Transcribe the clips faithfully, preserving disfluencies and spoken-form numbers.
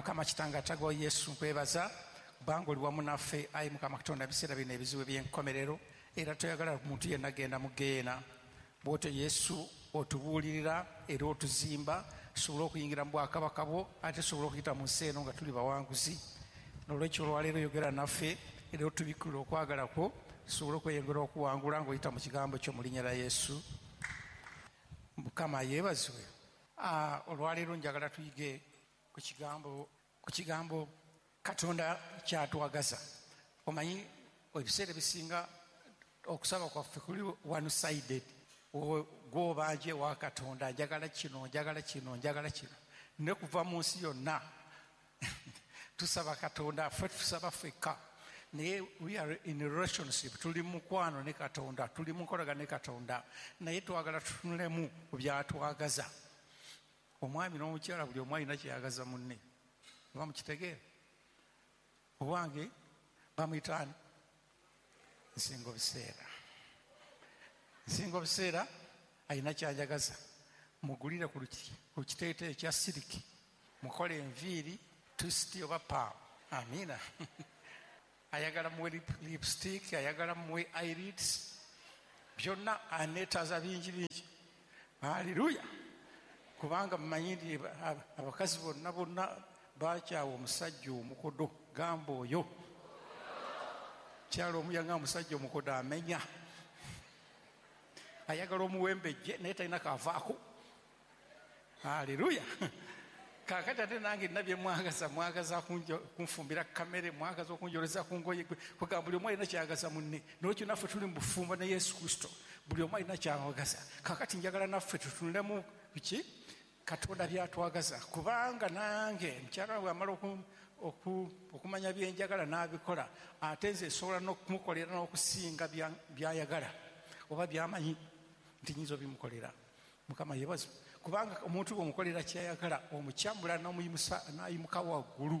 Mukama kitange atagwa Yesu, nkwebaza kubanga oli wamu naffe. Ayi Mukama Katonda, ebiseera bino ebizibu eby'enkomerero, era toyagala muntu yenna genda mu geena. Bw'otyo Yesu otubuulirira era otuzimba, tusobole okuyingira mu bwakabaka bwo, ate tusobole okuyita mu nsi eno nga tuli bawanguzi. N'olwekyo olwaleero yogera naffe era otubikkulire okwagala kwo, tusobole okweyongera okuwangula ng'oyita mu kigambo kyo mu linnya lya Yesu. Mukama yeebazibwe. Olwaleero njagala tuyige ku kigambo ku kigambo Katonda kyatwagaza. Omanyi ebiseera ebisinga okusaba kwaffe kuli one sided. Gw'obanje wa Katonda, njagala kino, njagala kino, njagala kino. Ne kuva mu nsi yonna tusaba Katonda, ffe tusaba ffekka. Naye we are in a relationship, tuli mukwano ne Katonda, tuli mu nkolagana ne Katonda, naye twagala tutunulemu ku byatwagaza. Omwami n'omukyala buli omu alina kyeyagaza munne. Oba mukitegeera? Owange bamuyita ani? Nsingo biseera. Nsingo biseera alina kyajagaza. Mugulire ku kiteeteeyi ekya siriki, mukole enviiri, twist oba paamu. Amiina. Ayagala muwe lipstick, ayagala muwe eyelids, byonna aneetaaza bingi bingi. Haleluya. Kubanga mmanyi nti abakazi bonna bonna bakyawa omusajja omukodo, gamba oyo. Kyalo omu yanga omusajja omukodo amenya. Ayagala omuwembejje naye talina kavaako. Haleluya. Kaakati ate nange nina bye mwagaza, mwagaza kunfumbira kamere, mwagaza okunjoleza ku ngoye, kugamba buli omu alina kyayagaza munne. N'olwekyo naffe tuli mu bufumbo ne Yesu Kristo, buli omu alina kyayagaza. Kaakati njagala naffe tutunulemu biki Katonda byatwagaza, kubanga nange mukyala wange amala okumanya bye njagala n'abikola, ate nze nsobola n'okumukolera n'okusinga by'ayagala oba by'amanyi nti nnyinza obimukolera. Mukama yeebazibwe. Kubanga omuntu bw'omukolera ky'ayagala, omukyamula n'omuyimusa n'ayimuka waggulu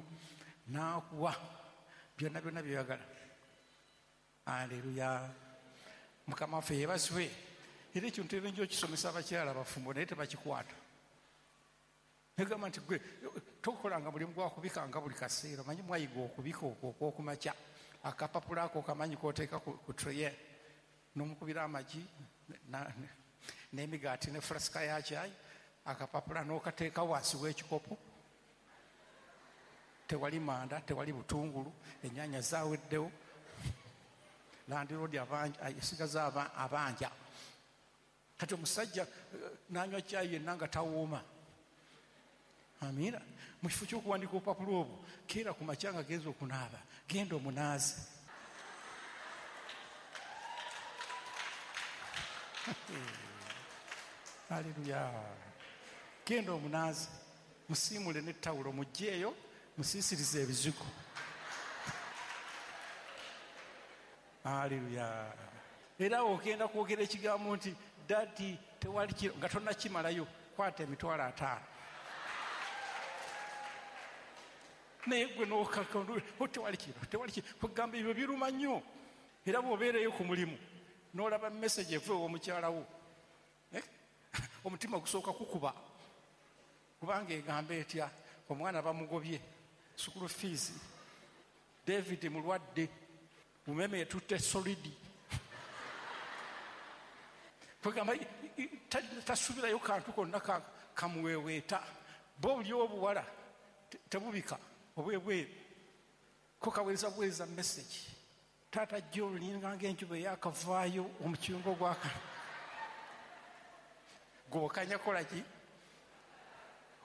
n'akuwa byonna byonna by'oyagala. Aleluya. Mukama waffe yeebazibwe. Era ekyo ntera nnyo okisomesa abakyala abafumbo naye tebakikwata. Negamba nti gwe tokolanga mulimu gwa kubikanga buli kaseera, omanyi mwayiga okubika okwo okw'okumakya, akapapula ako kamanyi k'oteeka ku treye n'omukubira amagi n'emigaati ne fulasika ya kyayi, akapapula n'okateeka wansi w'ekikopo. Tewali manda, tewali butungulu, ennyaanya zaaweddewo, landiroodi esigaza abanja. Kati omusajja n'anywa kyayi yenna nga tawooma. Amiina. Mu kifo ky'okuwandiika obupapula obwo, keera ku makya nga genza okunaaba, genda omunaaze. Haleluya. Genda omunaaze, musiimule n'ettawulo, muggyeeyo, musiisirize ebizigo. Haleluya. Era ogenda kwogera ekigambo nti dadi tewali kiro, nga tonnakimalayo, kwata emitwalo ataano. Naye gwe n'okaka tewali kiro, tewali kiro, kugamba ebyo biruma nnyo. Era bw'obeereyo ku mulimu n'olaba message eva ew'omukyala wo, omutima gusooka kukuba, kubanga egamba etya, omwana bamugobye school fees, David mulwadde, umeme etutte solidi, kugamba tasuubirayo kantu konna kamuweeweeta. Bo buli obuwala tebubika obwebweru, ko kaweereza buweereza message. Taata John linga ng'enjuba eyakavaayo omukiyungo gwaka gwokanya kola ki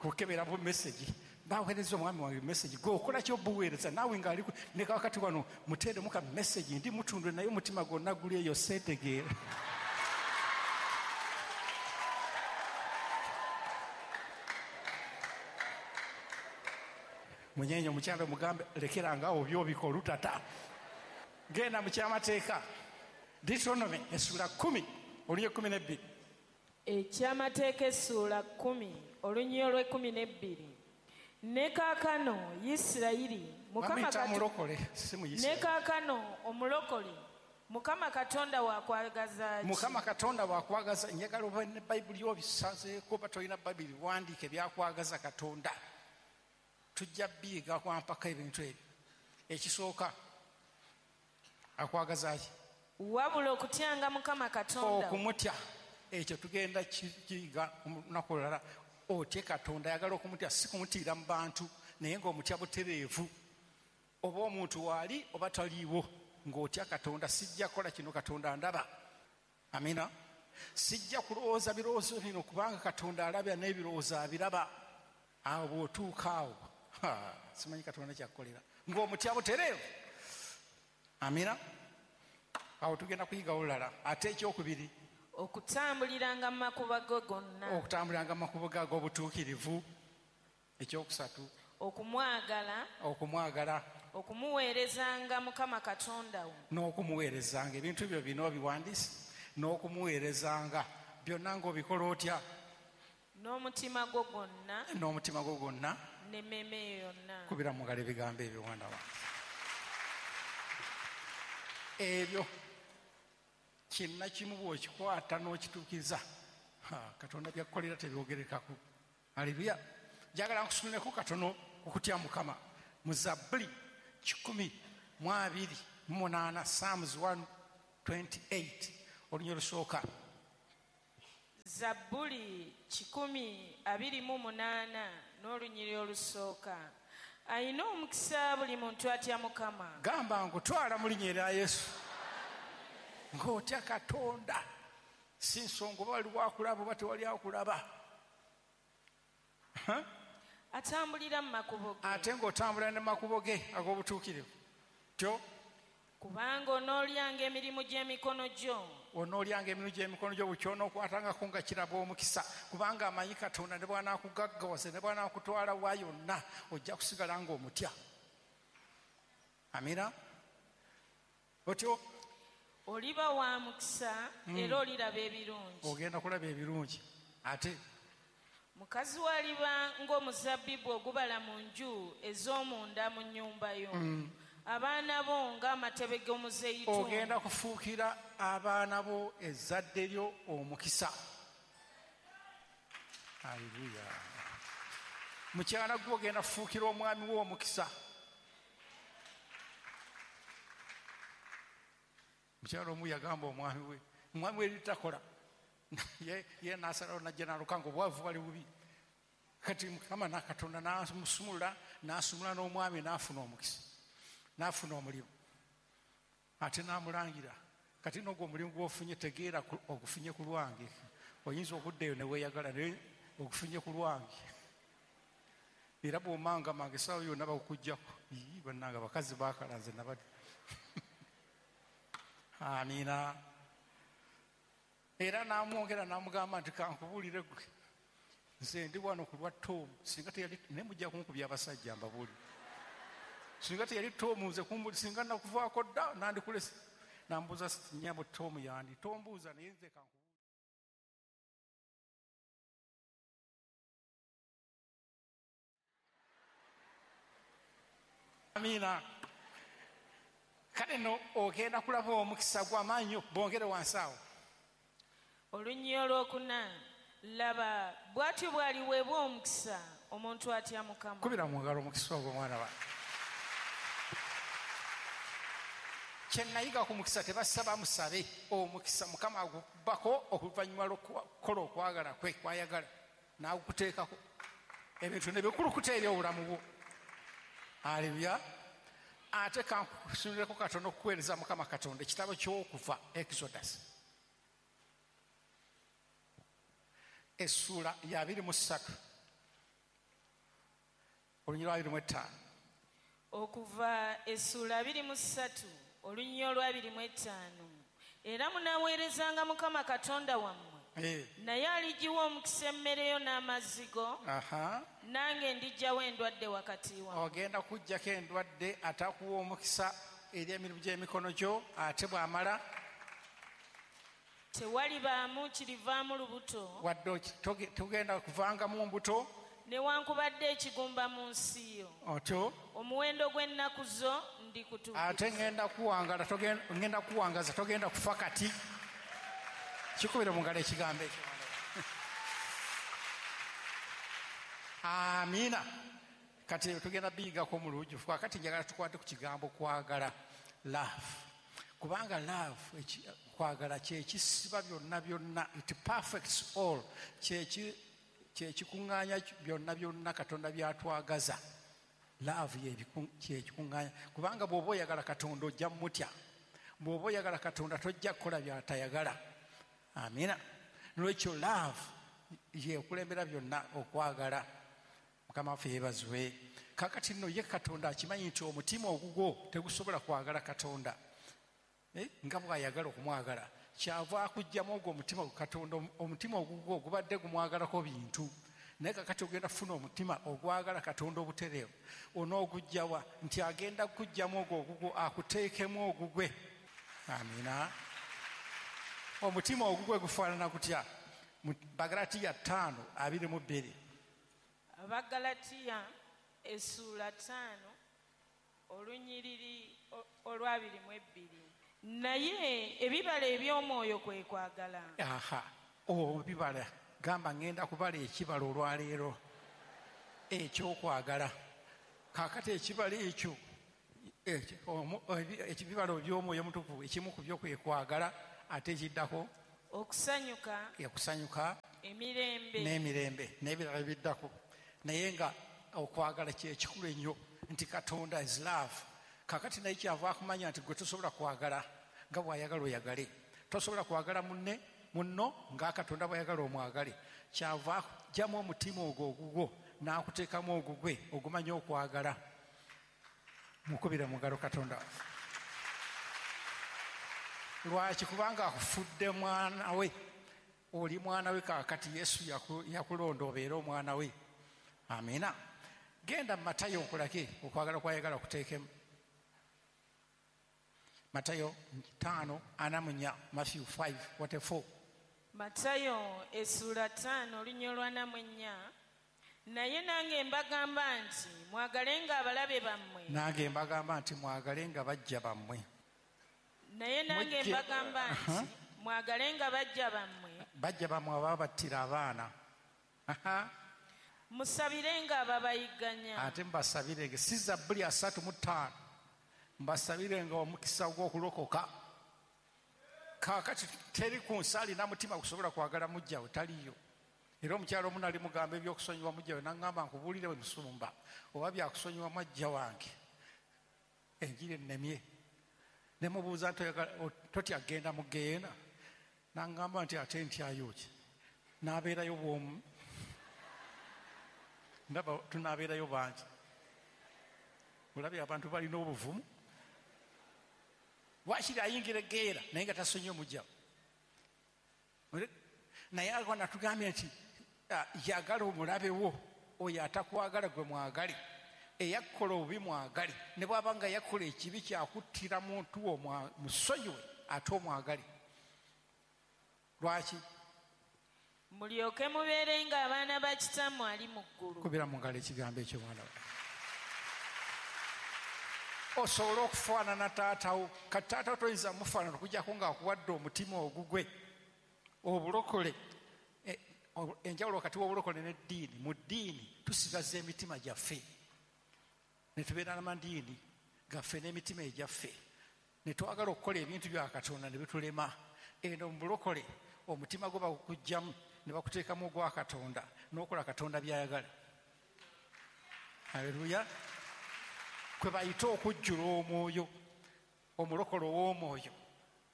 kukebera bu message, baweereza omwami wange message, gwe okola ki obuweereza naawe ng'ali ne kakati wano muteeremu ka message, ndi mutundwe naye omutima gwonna guli eyo seetegeera. Munyenye omukyala omugambe lekeranga awo by'obika olutata. Genda mu kyamateeka Deuteronomy essuula kkumi olunyiriri kkumi n'ebbiri. Ekyamateeka essuula kkumi olunyiriri olw'ekkumi n'ebbiri. Ne kaakano Isirayiri Mukama Katonda, ne kaakano omulokole Mukama Katonda wakwagaza ki? Mukama Katonda wakwagaza. Njagala obe ne Bayibuli obisazeeko, oba tolina Bayibuli wandiike byakwagaza Katonda. Tujja biyiga kwampaka ebintu ebyo. Ekisooka akwagaza ki? Wabula okutyanga Mukama Katonda. Okumutya ekyo tugenda kiyiga olunaku olulala. Otye Katonda, ayagala okumutya, si kumutiira mu bantu, naye ng'omutya butereevu. Oba omuntu waali oba taliiwo, ng'otya Katonda. Sijja kukola kino, Katonda ndaba. Amina. Sijja kulowooza birowoozo bino kubanga Katonda alabya n'ebirowoozo abiraba. Awo bw'otuuka awo, simanyi Katonda kyakukolera, ng'omutya butereevu. Amina. Awo tugenda kuyiga olulala. Ate ekyokubiri, okutambuliranga mu makubo go gonna. Okutambuliranga mu makubo go ag'obutuukirivu. Ekyokusatu, okumwagala. Okumwagala. Okumuweerezanga Mukama Katonda wo. N'okumuweerezanga. Ebintu byo bino obiwandiise. N'okumuweerezanga byonna ng'obikola otya? N'omutima gwo gwonna. N'omutima gwo gwonna. N'emmeeme yonna. Kubira mu ngalo ebigambo ebyo mwana wange. Ebyo kinna kimu bw'okikwata n'okituukiriza, Katonda byakkolera tebyogerekako. Haleluya. Njagala nkusunuleko katono okutya Mukama. Mu Zabbuli kikumi mu abiri mu munaana, Psalms one twenty-eight, olunya olusooka. Zabbuli kikumi abiri mu munaana n'olunyiriri olusooka. Ayina omukisa buli muntu atya Mukama. Gamba nkutwala mu linnya erya Yesu. Ng'otya Katonda, si nsonga oba waliwo akulaba oba tewali akulaba. Atambulira mu makubo ge. Ate ng'otambulira ne makubo ge ag'obutuukirivu. Tyo? Kubanga onoolyanga emirimu gy'emikono gyo. Onoolyanga emirimu gy'emikono gyo, buli ky'onookwatangako nga kiraba omukisa. Kubanga amanyi Katonda ne bw'anaakugaggawaza ne bw'anaakutwala wa yonna, ojja kusigala ng'omutya. Amina. Otyo? Oliba wa mukisa era oliraba ebirungi. Ogenda kulaba ebirungi. Ate mukazi wo aliba ng'omuzabbibu ogubala mu nju ez'omunda mu nnyumba yo. Mm. Abaana bo ng'amatebe g'omuzeyituuni. Ogenda kufuukira abaana bo ezzadde lyo omukisa. Haleluya. Mukyala gwe ogenda kufuukira omwami wo omukisa. Mukyala omu yagamba omwami we, omwami we litakola. Ye ye n'asalawo n'ajja n'aluka ng'obwavu bwali bubi. Kati Mukama na Katonda n'amusumulula, n'asumula n'omwami n'afuna omukisa. N'afuna omulimu. Ate n'amulangira. Kati n'ogwo omulimu gw'ofunye tegeera ogufunye ku lwange. Oyinza okuddayo ne weeyagala naye ogufunye ku lwange. Era bw'omangamanga essaawa yonna bakukuggyako. Ii bannange abakazi baakala nze nabadde. Amiina. Era n'amwongera n'amugamba nti kankubuulire ggwe. Nze ndi wano ku lwa Tom. Singa teyali naye mujja kunkubya abasajja mbabuulire. Singa teyali Tom nze kumbuli singa nakuvaako dda nandikulese. Nambuuza nnyabo Tom yandi. Tombuuza naye nze kankubuulire. Amiina. Kale nno ogenda kulaba omukisa gw'amaanyi bongere wansi awo. Olunyiriri olwokuna, laba bw'atyo bw'aliweebwa omukisa omuntu atya Mukama. Kubira mu ngalo omukisa ogwo mwana wange. Kye nayiga ku mukisa tebasaba musabe omukisa Mukama agukubako oluvannyuma lw'okukola okwagala kwe kwayagala n'agukuteekako ebintu ne bikulukuta eri obulamu bwo. Haleluya. Ate kankusunuleko katono okuweereza Mukama Katonda ekitabo ky'okuva Exodus essuula ya abiri mu ssatu olunyiriri lwa abiri mu ttaano. Okuva essuula abiri mu ssatu olunyiriri olwa abiri mu ttaano. Era munaaweerezanga Mukama Katonda wammwe, Eh. naye aligiwa omukisa emmere yo n'amazzi go, Aha. nange ndiggyawo endwadde wakati wammwe. Ogenda kuggyako endwadde ate akuwa omukisa eri emirimu gy'emikono gyo, ate bw'amala tewalibaamu kirivaamu lubuto, wadde togenda kuvangamu mbuto, newankubadde ekigumba mu nsi yo. Otyo omuwendo gw'ennaku zo ndikutuukiriza. Ate ngenda kuwangala, ngenda kuwangaza, togenda kufa kati. Kikubire mu ngalo ekigambo ekyo. Amiina. Kati tugenda biyigako mu lujjuvu. Kakati njagala tukwate ku kigambo kwagala, love, kubanga love kwagala kyekisiba byonna byonna, it perfects all, kyekikuŋŋaanya byonna byonna Katonda byatwagaza. Love kyekikuŋŋaanya, kubanga bw'oba oyagala Katonda ojja mutya, bw'oba oyagala Katonda tojja kukola byatayagala. Amina. Nolwekyo love yekulembera byonna, okwagala. Mukama waffe yeebazibwe. Kakati nno ye Katonda akimanyi nti omutima ogugwo tegusobola kwagala Katonda nga bw'ayagala okumwagala, kyava akuggyamu ogwo omutima Katonda, omutima ogugwo gubadde gumwagalako bintu, naye kakati ogenda kufuna omutima ogwagala Katonda obutereevu. Onooguggyawa? Nti agenda kuggyamu ogwo ogugwo akuteekemu ogugwe. Amina. Omutima ogugwe gufaanana gutya? Bagalatiya ttaano abiri mu bbiri. Abagalatiya essuula ttaano olunyiriri olw'abiri mu ebbiri. Naye ebibala eby'omwoyo kwe kwagala. Aha, ebibala. Gamba ngenda kubala ekibala olwaleero ekyokwagala. Kaakati ekibala ekyo, ebibala eby'omwoyo omutukuvu, ekimu ku byo kwe kwagala, ate ekiddako okusanyuka, okusanyuka, emirembe n'emirembe n'ebirala ebiddako. Naye nga okwagala kyekikulu ennyo, nti Katonda is love. Kakati naye kyava akumanya nti gwe tosobola kwagala nga bw'ayagala oyagale, tosobola kwagala munne munno nga Katonda bw'ayagala omwagale. Kyava akugyamu omutima ogwo ogugwo n'akuteekamu ogugwe ogumanya okwagala. Mukubire mu ngalo Katonda. Lwaki? Kubanga akufudde mwana we, oli mwana we. Kaakati Yesu yakulonda obeere omwana we. Amina. Genda mu Matayo nkulage okwagala kwayagala okuteekemu. Matayo ttaano ana mu nnya, Matthew five forty-four. Matayo essuula ttaano olunya olwana mu ennya. Naye nange mbagamba nti mwagalenga abalabe bammwe. Nange mbagamba nti mwagalenga bajja bammwe. Naye nange mbagamba nti mwagalenga bajja bammwe. Bajja bammwe ababattira abaana. Musabirenga ababayigganya. Ate mbasabirenge. Si Zabbuli asatu mu ttaano. Mbasabirenga omukisa gw'okulokoka. Kaakati teri ku nsi alina mutima gusobola kwagala mujjawe, taliyo. Era omukyalo omu nali mugamba ebyokusonyiwa mujjawe, n'aŋŋamba nkubuulire bwe musumba oba byakusonyiwa mwajja wange, enjiri ennemye. Ne mubuuza nti totya genda mu ggeyeena? N'aŋŋamba nti ate ntyayo ki? N'abeerayo bw'omu. Ndaba tunaabeerayo bangi. Olabye abantu balina obuvumu. Wakiri ayingira eggeera naye nga tasonyiwe mujjawe. Naye alwa natugambye nti yagala omulabe wo, oyo atakwagala gwe mwagale, eyakukola obubi mwagale, ne bw'aba nga yakola ekibi kyakuttira muntu wo musonyiwe ate omwagale. Lwaki? Mulyoke mubeerenga abaana ba Kitammwe ali mu ggulu. Kubira mu ngalo ekigambo ekyo mwana wange. Osobola okufaanana taatawo. Kati taatawo toyinza mufaanana okuggyako ng'akuwadde omutima ogugwe. Obulokole, enjawulo wakati w'obulokole n'eddiini. Mu ddiini tusigaza emitima gyaffe, ne tubeera n'amadiini gaffe n'emitima egyaffe, ne twagala okukola ebintu bya Katonda ne bitulema. Eno mu bulokole omutima gwo bagukuggyamu ne bakuteekamu ogwa Katonda n'okola Katonda by'ayagala. Haleluya. Kwe bayita okujjula omwoyo, omulokole ow'omwoyo.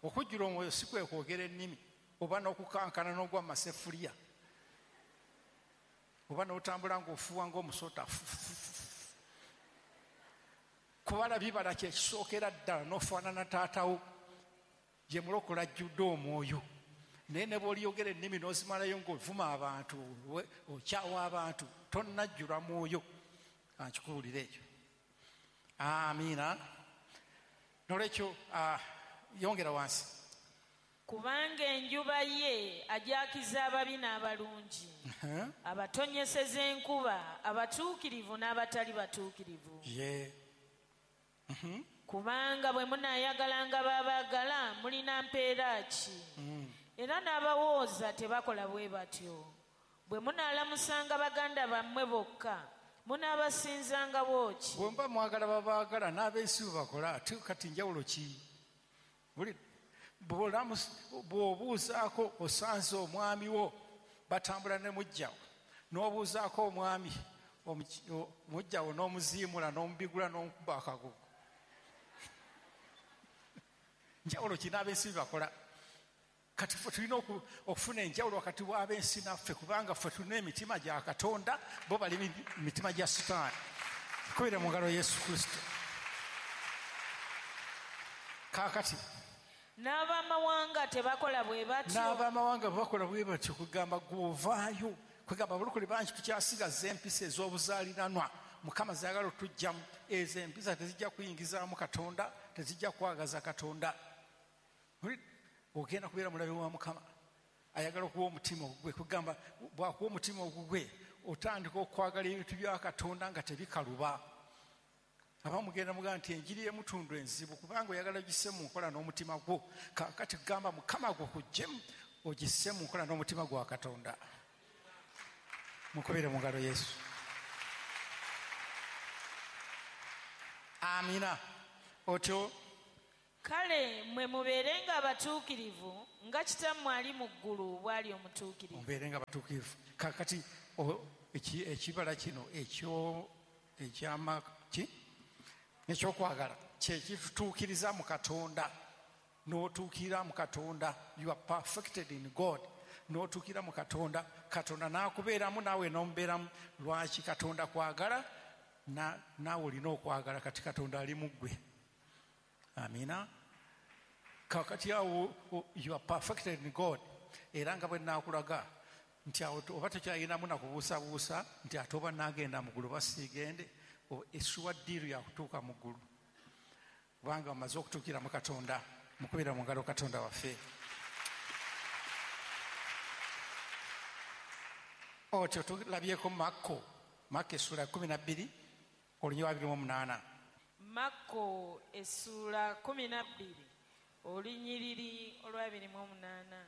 Okujjula omwoyo si kwe kwogera ennimi oba n'okukankana n'ogwa masefuliya oba n'otambula ng'ofuuwa ng'omusota. Kubala bibala kyekisookera ddala n'ofaanana taatawo gye mulokole ajjudde omwoyo. Naye ne bw'oliyogera ennimi n'ozimalayo ng'ovuma abantu, okyawa abantu, tonnajjula mwoyo. Ankikuwulira ekyo. Amiina. Nolwekyo yongera wansi. Kubanga enjuba ye ajakiza ababi n'abalungi, abatonyeseza enkuba abatuukirivu n'abatali batuukirivu. Ye. Kubanga bwe munaayagalanga babaagala mulina mpeera ki? Era n'abawooza tebakola bwe batyo. Bwe munaalamusanga baganda bammwe bokka Munaabasinzanga bw'oki? Bwe muba mwagala babaagala n'abensi bwe bakola, ate kati njawulo ki? Buli bw'obuuzaako osanze omwami wo batambula ne mujjawo, n'obuuzaako omwami mujjawo n'omuziimula n'omubigula n'omukuba akagugu. Njawulo ki n'abensi bwe bakola? Kati ffe tulina okufuna enjawulo wakati w'abensi naffe, kubanga ffe tulina emitima gya Katonda, bo bali mitima gya Sitaani. Kubira mu ngalo Yesu Kristo. Kaakati n'abamawanga tebakola bwe batyo. N'abamawanga bakola bwe batyo, kugamba gw'ovaayo, kugamba abalokole bangi tukyasigaza empisa ez'obuzaaliranwa. Mukama zaagala otujjamu. Ezo empisa tezijja kuyingizaamu Katonda, tezijja kwagaza Katonda. Ogenda kubeera mulabe wa Mukama. Ayagala okuwa omutima ogugwe, kugamba bw'akuwa omutima ogugwe otandika okwagala ebintu bya Katonda nga tebikaluba. Abamu mugenda mugamba nti enjiri y'emutundu enzibu, kubanga oyagala ogisse mu nkola n'omutima gwo. Kaakati kugamba Mukama gukuggyemu ogisse mu nkola n'omutima gwa Katonda. Mukubire mu ngalo Yesu. Amina. Otyo kale mwe mubeerenga abatuukirivu nga kitammwe ali mu ggulu bw'ali omutuukirivu. Mubeerenga abatuukirivu. Kaakati ekibala kino ekyo ekyama ki ekyokwagala kye kitutuukiriza mu Katonda. N'otuukirira mu Katonda, you are perfected in God. N'otuukirira mu Katonda, Katonda n'akubeeramu naawe n'omubeeramu. Lwaki Katonda kwagala naawe olina okwagala? Kati Katonda ali mu ggwe. Amina. Kakati awo you are perfected in God. Era nga bwe naakulaga nti awo oba tokyayinamu nakubuusabuusa nti ate oba naagenda mu ggulu oba siigende, essuwa ddiiru yakutuuka mu ggulu, kubanga omaze okutuukira mu Katonda. Mukubira mu ngalo Katonda waffe. Otyo tulabyeko Makko, Makko essuula kkumi na bbiri olunyiriri abiri mu munaana. Makko essuula kkumi na bbiri olunyiriri olw'abiri mu omunaana.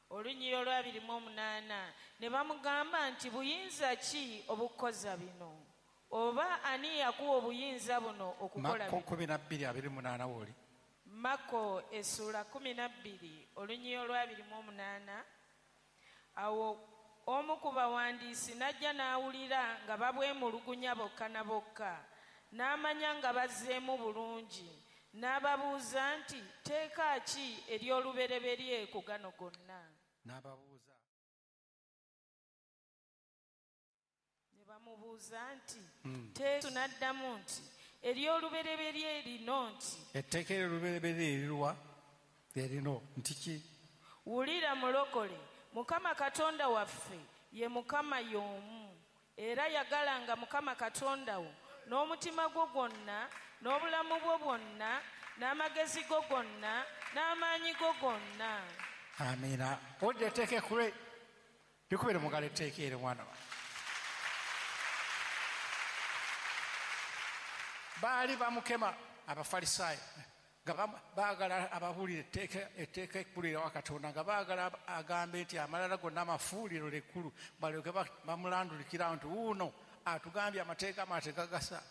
Olunyiriri olw'abiri mu omunaana ne bamugamba nti buyinza ki obukoza bino? Oba ani yakuwa obuyinza buno okukola bino? Makko kkumi na bbiri abiri mu munaana w'oli. Makko essuula kkumi na bbiri olunyiriri olw'abiri mu omunaana. Awo omu ku bawandiisi n'ajja n'awulira nga babwemulugunya bokka na bokka, n'amanya nga bazzeemu bulungi, n'ababuuza nti tteeka ki ery'olubereberye ku gano gonna? N'ababuuza. Ne bamubuuza nti Yesu n'addamu nti ery'olubereberye lino nti etteeka ery'olubereberye eriruwa? Erino nti ki? Wulira mulokole, Mukama Katonda waffe ye Mukama y'omu, era yagalanga Mukama Katonda wo n'omutima gwo gwonna, n'obulamu bwo bwonna, n'amagezi go gonna, n'amaanyi go gonna. Amina. Owulidde etteeka ekkulu? Likubire mu ngalo etteeka eryo mwana wange. Baali bamukema Abafalisaayo nga baagala ababuulire etteeka etteeka ekkulu erya Katonda, nga baagala agambe nti amalala gonna amafuuliro ekkulu, balyoke bamulandulikira nti wuuno atugambye amateeka amateeka gasa.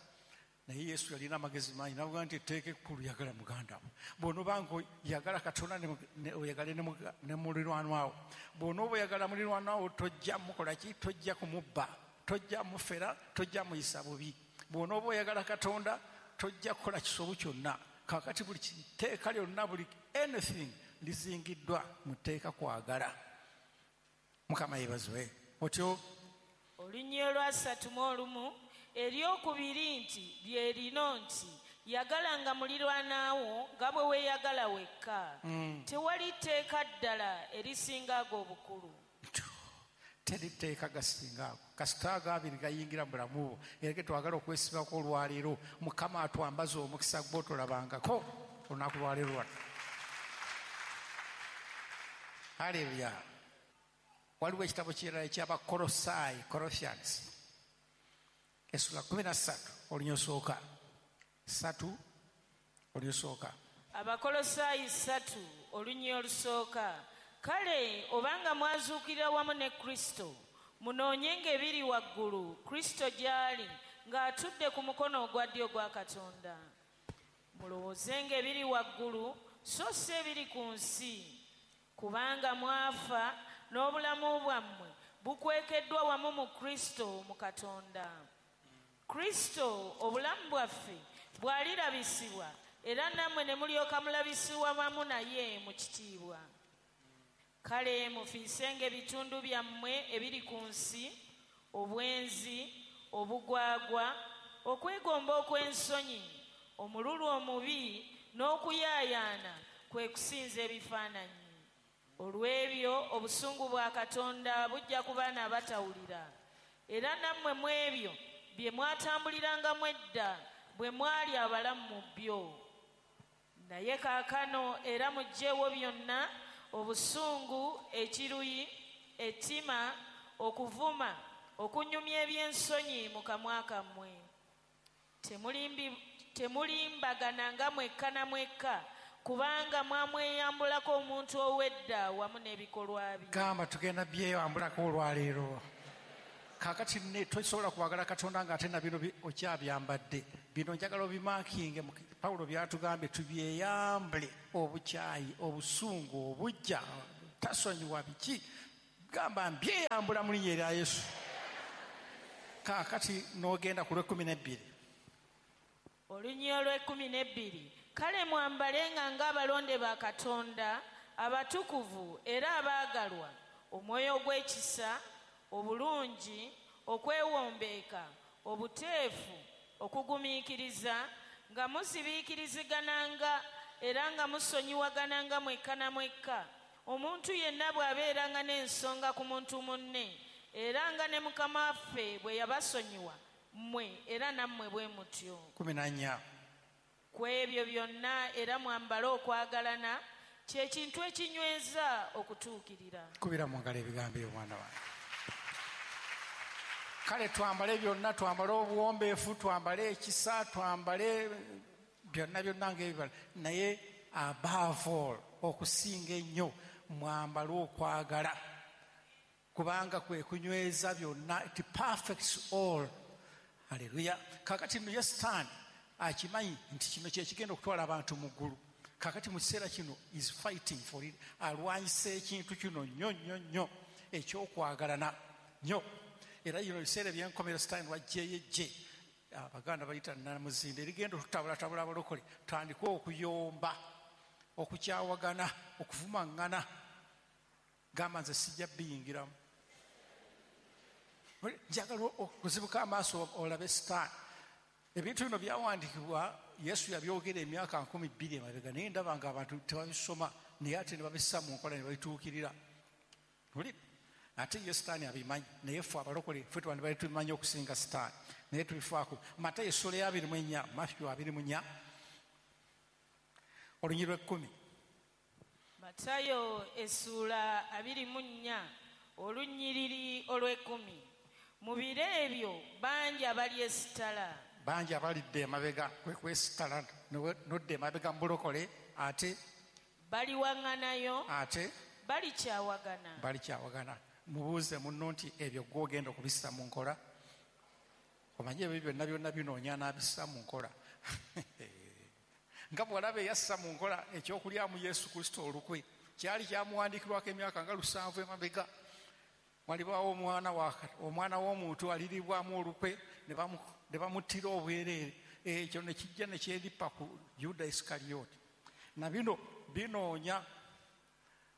Naye Yesu yalina amagezi mangi n'agamba nti etteeka ekkulu yagala muganda wo. Bw'onooba ng'oyagala Katonda oyagale ne muliraanwa wo. Bw'onooba oyagala muliraanwa wo tojja mukola ki? Tojja kumubba, tojja mufera, tojja muyisa bubi. Bw'onooba oyagala Katonda tojja kukola kisobu kyonna. Kaakati buli tteeka lyonna, buli anything lizingiddwa mu tteeka kwagala. Mukama yeebazibwe. Otyo olunyiriri olwasatu mu olumu eryokubiri nti lye lino nti yagalanga muliraanwa nga bwe weeyagala wekka. Tewali tteeka ddala erisinga ago obukulu. Teri tteeka gasinga ago. Kasita ago abiri gayingira mu bulamu bwo. Era ke twagala okwesibako olwaleero, Mukama atwambaze omukisa gw'otolabangako olunaku lwaleero lwano. Haleluya. Waliwo ekitabo kirala eky'Abakolosaayi, Corinthians, essuula kkumi na ssatu olunyosooka. Ssatu olunyosooka. Abakolosaayi ssatu oluny olusooka. Kale obanga mwazuukirira wamu ne Kristo, Munoonyenga ebiri waggulu, Kristo gy'ali ng'atudde ku mukono ogwa ddyo gwa Katonda. Mulowoozenga ebiri waggulu, so si ebiri ku nsi, kubanga mwafa n'obulamu bwammwe bukwekeddwa wamu mu Kristo mu Katonda. Kristo obulamu bwaffe bw'alirabisibwa, era nammwe ne mulyoka mulabisibwa wamu naye mu kitiibwa. Kale mufiisenga ebitundu byammwe ebiri ku nsi, obwenzi, obugwagwa, okwegomba okw'ensonyi, omululu omubi n'okuyaayaana, kwe kusinza ebifaananyi. Olw'ebyo obusungu bwa Katonda bujja ku baana abatawulira. Era nammwe mu ebyo bye mwatambulirangamu edda bwe mwali abalamu mu byo. Naye kaakano era muggyeewo byonna: obusungu, ekiruyi, ettima, okuvuma, okunyumya eby'ensonyi mu kamwa kammwe. Temulimbi- Temulimbagananga mwekka na mwekka, kubanga mwamweyambulako omuntu ow'edda wamu n'ebikolwa bye. Gamba tugenda byeyambulako olwaleero. Kaakati ne tosobola kwagala Katonda ng'ate na bino bi- okyabyambadde. Bino njagala obimarkinge. mu- Pawulo byatugambye tubyeyambule: obukyayi, obusungu, obujja, tasonyiwa, biki. Gamba mbyeyambula mu linnya erya Yesu. Kaakati n'ogenda ku lw'ekkumi n'ebbiri. Olunyiriri olw'ekkumi n'ebbiri. Kale mwambalenga ng'abalonde ba Katonda, abatukuvu era abaagalwa, omwoyo ogw'ekisa, obulungi, okwewombeeka, obuteefu, okugumiikiriza, nga muzibiikirizigananga era nga musonyiwagananga mwekka na mwekka, omuntu yenna bw'abeeranga n'ensonga ku muntu munne, era nga ne Mukama waffe bwe yabasonyiwa mmwe, era nammwe bwe mutyo. Kumi na nnya. Ku ebyo byonna era mwambale okwagalana, kye kintu ekinyweza okutuukirira. Kubira mu ngalo ebigambo ebyo, mwana wange. Kale twambale byonna, twambale obuwombeefu, twambale ekisa, twambale byonna byonna ng'ebibala, naye above all, okusinga ennyo, mwambale okwagala, kubanga kwe kunyweza byonna. It perfects all. Haleluya. Kakati nno ye Sitaani akimanyi nti kino kyekigenda okutwala abantu mu ggulu. Kakati mu kiseera kino is fighting for it, alwanyisa ekintu kino nnyo nnyo nnyo ekyokwagalana nnyo. Era bino ebiseera ebyenkomero, Sitaani wajjeeyo ejje, Abaganda bayita namuzinda, erigenda okutabulatabula abalokole, tutandike okuyomba, okukyawagana, okuvumaŋŋana. Gamba nze sijja biyingiramu. Njagala okuzibuka amaaso olabe Sitaani. Ebintu bino byawandiikibwa, Yesu yabyogera emyaka nkumi bbiri emabega, naye ndaba nga abantu tebabisoma, naye ate ne babissa mu nkola ne babituukirira. Oli ate ye Sitaani abimanyi, naye ffe abalokole ffe twandibadde tubimanyi okusinga Sitaani, naye tubifaako. Matayo essula ya abiri mu ennya, Matthew abiri mu nnya, olunyiriri lw'ekkumi. Matayo essuula abiri mu nnya, olunyiriri olw'ekkumi. Mu biro ebyo bangi abalyesitala. Bangi abalidde emabega, kwe kwesitala nodda emabega mu bulokole, ate baliwaŋŋanayo, ate balikyawagana. Balikyawagana. Mubuuze munno nti ebyo gw'ogenda okubissa mu nkola? Omanye ebyo byonna byonna binoonya n'abissa mu nkola, nga bw'olaba eyassa mu nkola ekyokulyamu Yesu Kristo olukwe. Kyali kyamuwandiikirwako emyaka nga lusanvu emabega, walibaawo omwana wa omwana w'omuntu aliribwamu olukwe ne bamu- ne bamuttira obwereere. Ekyo ne kijja ne kyeripa ku Yuda Isikaliyoti. Na bino binoonya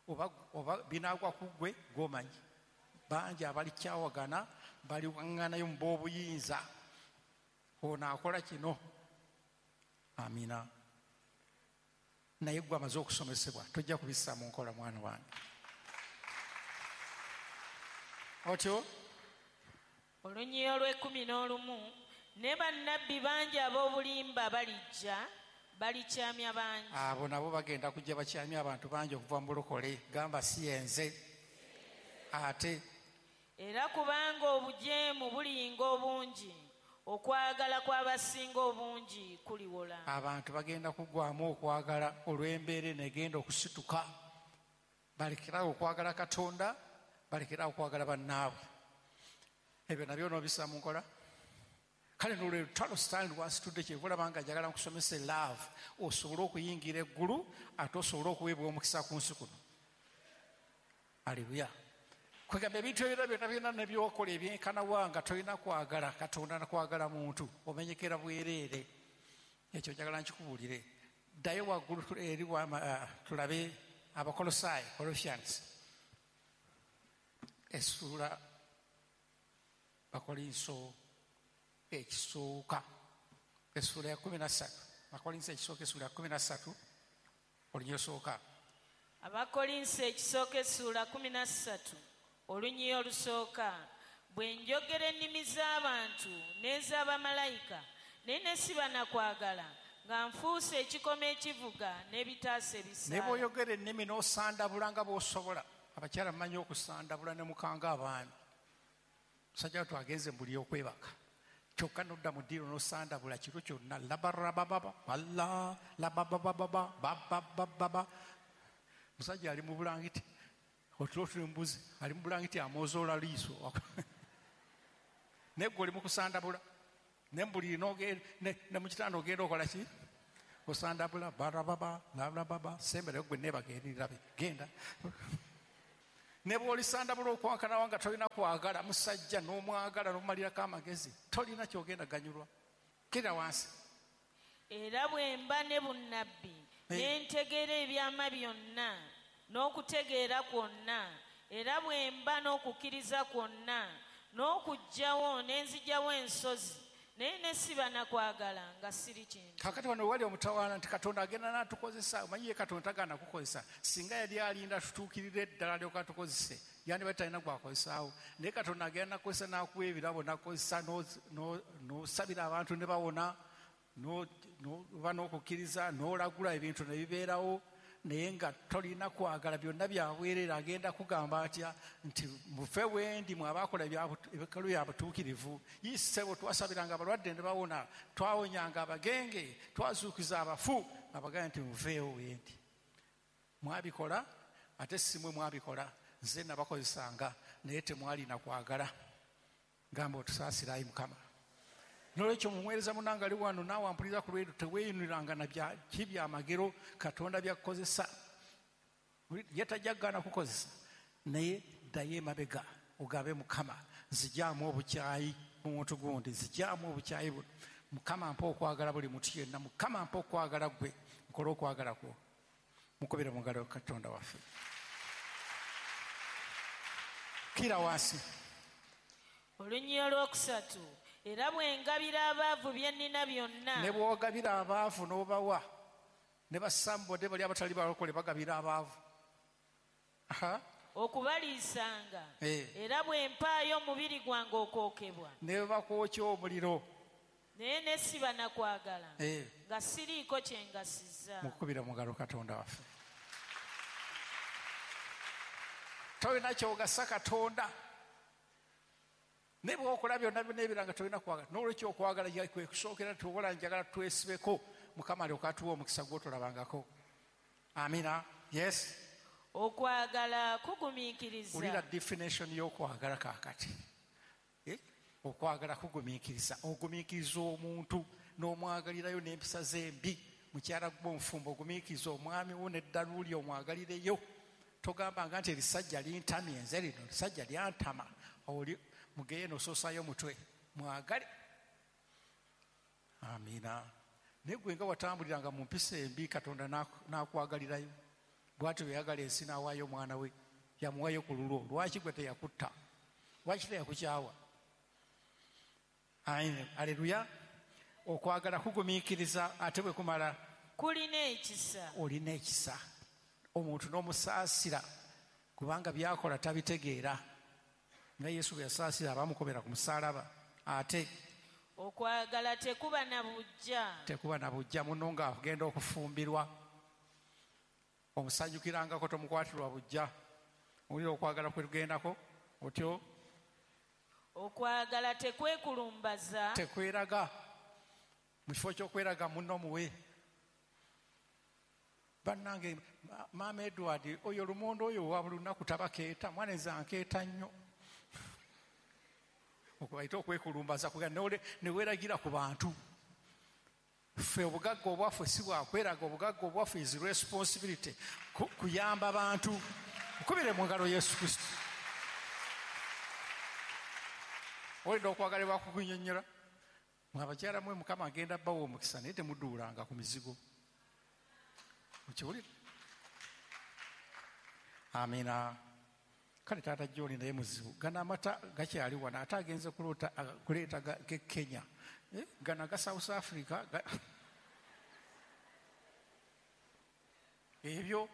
oba, oba binaagwa ku ggwe gw'omanyi. Bangi abalikyawagana, baliwaŋŋanayo mu b'obuyinza, ono akola kino. Amina. Naye gwe amaze okusomesebwa tojja kubissa mu nkola, mwana wange, otyo. Olunyiriri olw'ekkumi n'olumu. Ne bannabbi bangi ab'obulimba balijja, balikyamya bangi. Abo nabo bagenda kujja bakyamya abantu bangi okuva mu bulokole. Gamba si yenze ate. Era kubanga obujeemu buliyinga obungi, okwagala kw'abasinga obungi kuliwola. Abantu bagenda kugwamu okwagala olw'embeera eno egenda okusituka, balekerawo okwagala Katonda, balekerawo okwagala bannaabwe. Ebyo nabyo n'obissa mu nkola. Kale nolwe lutalo sitaani lwasitudde, kyeva olaba nga njagala nkusomese love, osobole okuyingira eggulu ate osobole okuweebwa omukisa ku nsi kuno. Aleluya. Kwegamba ebintu ebirala byonna byonna ne by'okola ebyenkanawa nga tolina kwagala Katonda na kwagala muntu, omenyekera bwereere. Ekyo njagala nkikubuulire. Ddayo waggulu eri tulabe Abakolosaayi, Colossians, essuula Bakolinso ekisooka, essuula ya kkumi na ssatu. Bakolinso ekisooka essuula ya kkumi na ssatu, olunyiriri olusooka. Abakolinso ekisooka essuula kkumi na ssatu, olunyiriri olusooka. Bwe njogera ennimi z'abantu n'ez'abamalayika, naye ne siba na kwagala, nga nfuuse ekikomo ekivuga n'ebitaasa ebisaala. Ne bw'oyogera ennimi n'osandabula nga bw'osobola. Abakyala mmanyi okusandabula ne mukanga abaami. Musajja wattu agenze mu buli okwebaka, kyokka n'odda mu ddiiro n'osandabula kiro kyonna, labarabababa alla lababababa bababababa. Musajja ali mu bulangiti, otulo tuli mbuzi, ali mu bulangiti amwozoola liiso. Naye ggwe oli mu kusandabula, ne mu buliri ne mu kitanda ogenda okola ki? Osandabula barababa labababa, semberayo ggwe neebaka eri rabe, genda. Ne bw'olisandabula okwankanawa nga tolina kwagala musajja n'omwagala n'omumalirako amagezi, tolina ky'ogenda ganyulwa. Kkirira wansi. Era bwe mba ne bunnabbi, ne ntegeera ebyama byonna n'okutegeera kwonna, era bwe mba n'okukkiriza kwonna n'okuggyawo ne nzigyawo ensozi, naye ne siba na kwagala nga siri kintu. Kaakati wano wali omutawaana nti Katonda agenda n'atukozesa. Omanyi ye Katonda tagaana kukozesa. Singa yali alinda tutuukirire eddala alyoke atukozese, yandibadde talina gw'akozesaawo. Naye Katonda agenda n'akukozesa n'akuwa ebirabo, n'akukozesa n'osabira abantu ne bawona, n'oba n'okukkiriza, n'olagula ebintu ne bibeerawo, naye nga tolina kwagala, byonna byabwereere. Agenda kugamba atya nti mufe wendi mwe abaakola ebikalu bya butuukirivu. Ssebo twasabiranga abalwadde ne bawona, twawonyanga abagenge, twazuukiza abafu. Abagambe nti muveewo wendi. Mwabikola, ate si mmwe mwabikola, nze nabakozesanga, naye temwalina kwagala. Gamba otusaasire ayi Mukama. Nolwekyo mumuweereza munnange ali wano naawe ampuliriza ku lw'eyo, teweeyinuliranga na ki byamagero Katonda by'akukozesa. Ye tajja kugaana kukozesa, naye ddayo emabega ogabe Mukama, nzigyamu obukyayi mu muntu gundi, nzigyamu obukyayi buno. Mukama mpa okwagala buli muntu yenna, Mukama mpa okwagala ggwe, nkole okwagala kwo. Mukubire mu ngalo Katonda waffe. Kkira wansi. Olunyiriri olwokusatu. Era bwe ngabira abaavu bye nnina byonna. Ne bw'ogabira abaavu n'obawa, ne basambodde bali abatali balokole bagabira abaavu. Okubaliisanga. Era bwe mpaayo omubiri gwange okwokebwa. Ne bwe bakwokya omuliro. Naye ne siba na kwagala, nga siriiko kye ngasizza. Mukubira mu ngalo Katonda waffe. Tolina ky'ogasa Katonda. Ne bw'okola byonna byonna ebiranga tolina kwagala. N'olwekyo okwagala kwe kusookera, tuwola njagala twesibeko, Mukama alyoke atuwe omukisa gw'otolabangako. Amina. Yes. Okwagala kugumiikiriza. Wulira definition y'okwagala kaakati. Eh? Okwagala kugumiikiriza. Ogumiikiriza omuntu n'omwagalirayo n'empisa ze embi. Mukyala gwe omufumbo ogumiikiriza omwami wo n'eddalu lye omwagalireyo. Togambanga nti erisajja lintamye nze lino, erisajja lyantama. Oli mugeye n'osoosayo omutwe, mwagale. Amina. Naye gwe nga watambuliranga mu mpisa embi, Katonda n'akwagalirayo. Bw'atyo bwe yagala ensi n'awaayo omwana we, yamuwaayo ku lulwo. Lwaki gwe teyakutta? Lwaki teyakukyawa? Aleluya. Okwagala kugumiikiriza, ate bwe kumala kulina ekisa. Olina ekisa. Omuntu n'omusaasira kubanga by'akola tabitegeera. Nga Yesu bwe yasaasira abamukomera ku musaalaba. Ate okwagala tekuba na buggya. Tekuba na buggya. Munno ng'agenda okufumbirwa, omusanyukirangako, tomukwatirwa buggya. Owulira okwagala kwe tugendako otyo. Okwagala tekwekulumbaza. Tekweraga. Mu kifo ky'okweraga munno muwe. Bannange, Maama Edward oyo lumonde oyo wa buli lunaku tabakeeta, mwana nze ankeeta nnyo. Okubayita okwekulumbaza ne weeragira ku bantu. Ffe obugagga obwaffe si bwakweraga, obugagga obwaffe is responsibility, kuyamba bantu. Nkubire mu ngalo Yesu Kristo. Olina okwagalibwa kukunnyonnyola. Mwe abakyala mwe Mukama agenda bbawa omukisa, naye temuduulanga ku mizigo. Okiwulira? Amina. Kale taata John naye muzibu. Gano amata gakyali wano, ate agenze kuleeta ge Kenya. Gano aga South Africa. Ebyo.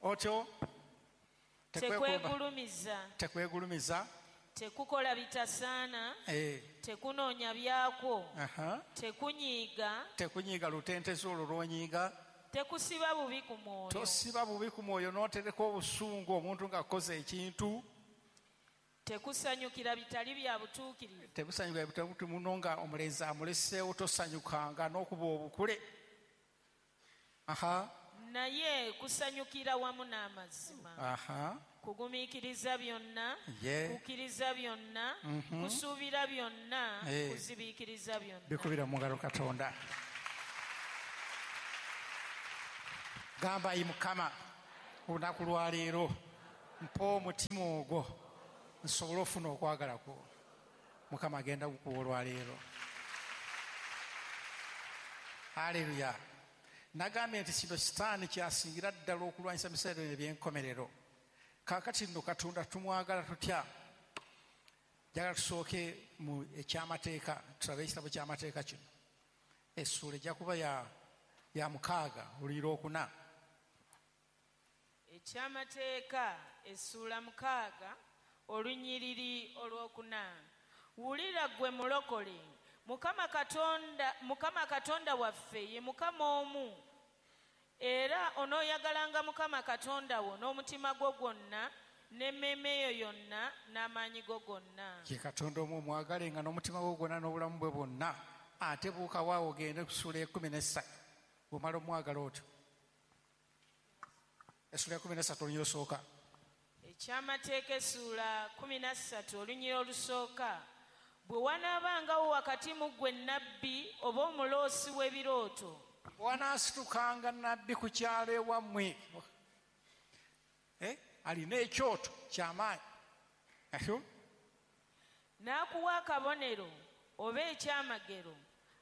Otyo. Tekwegulumiza. Tekwegulumiza. Tekukola bitasaana. Eh. Tekunoonya byakwo. Aha. Tekunyiiga. Tekunyiiga lutentezi olwo lw'onyiiga. Tekusiba bubi ku mwoyo. Tosiba bubi ku mwoyo n'otereka obusungu omuntu ng'akoze ekintu. Tekusanyukira bitali bya butuukirivu. Tekusanyukira bitali muno nga omulenzi amuleseewo, tosanyukanga n'okuba obukule. Aha. Naye kusanyukira wamu n'amazima. Aha. Kugumiikiriza byonna, yeah. Kukkiriza byonna, mm -hmm. Kusuubira byonna, yeah. Kuzibiikiriza byonna. Bikubira mu ngalo Katonda. Gamba ayi Mukama, olunaku lwa leero mpa omutima ogwo nsobole ofuna okwagala kwo. Mukama agenda kukuwa olwaleero. Haleluya. Nagambye nti kino Sitaani kyasingira ddala okulwanyisa ebiseera eby'enkomerero. Kaakati nno Katonda tumwagala tutya? Njagala tusooke mu ekyamateeka, tulabe ekitabo ky'amateeka kino. Essuula ejja kuba ya ya mukaaga olunyiriri olwokuna. Ekyamateeka essuula mukaaga olunyiriri olwokuna. Wulira ggwe mulokole, Mukama Katonda, Mukama Katonda waffe ye Mukama omu. Era onooyagalanga Mukama Katonda wo n'omutima gwo gwonna n'emmeeme yo yonna n'amaanyi go gonna. Ye Katonda omu omwagalenga n'omutima gwo gwonna n'obulamu bwe bwonna. Ate buuka waawo ogende ku ssuula ekkumi n'essatu. Bw'omala omwagala otyo. Essuula ekkumi n'essatu olunyiriri olusooka. Ekyamateeka essuula kkumi na ssatu olunyiriri olusooka. Bwe wanaabangawo wakati mu ggwe nnabbi oba omuloosi w'ebirooto. Wanaasitukanga nnabbi ku kyalo ewammwe. Eh? Alina ekyoto ky'amaanyi. N'akuwa akabonero oba ekyamagero.